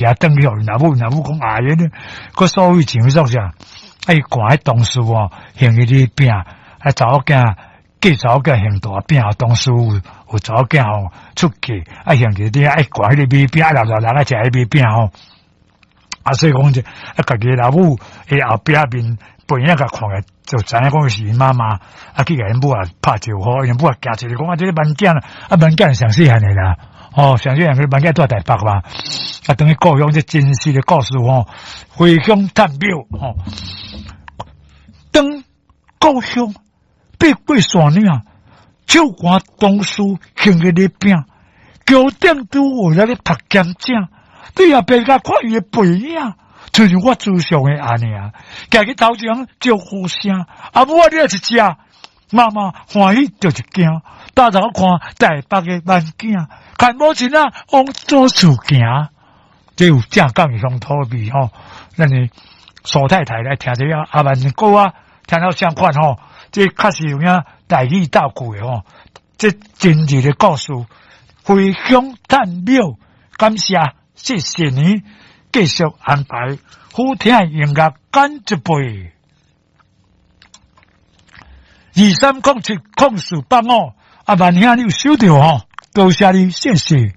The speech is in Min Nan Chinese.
也轉去予𪜶老母，老母講哎呀，閣所謂錢做啥？啊，伊看彼同事吼，還彼個餅，啊，查某囝嫁查某囝還大餅，同事有查某囝吼出嫁，啊，還去啲愛看彼個米餅，啊，老老人愛食彼米餅吼。啊，所以講這啊，家己老母的後壁面背影共看來，就知影講是𪜶媽媽，啊，去共𪜶母也拍招呼，𪜶母也驚一下，講啊，這個萬囝，啊，萬囝上細漢的啦，哦，上細漢個萬囝住台北嘛，啊，轉去故鄉這真實的故事吼，回鄉探廟吼，當故鄉爬過山嶺，手牽同事還彼個餅，橋頂拄有咧讀兼正。對後壁共看伊的背影，親像我思想的按呢啊，行去頭前招呼聲，阿母啊，你來一隻，媽媽歡喜就一驚，抬頭看台北的萬囝，牽母親啊往祖厝行，這有正港的鄉土味吼。咱的蘇太太來聽這個阿萬歌啊，聽了相款吼，這確實有影台語道具的吼，這真實的故事，回鄉探廟，感謝。謝謝你繼續安排好聽的音樂，乾一杯。23070485，阿萬兄你有收著吼？多謝你，謝謝。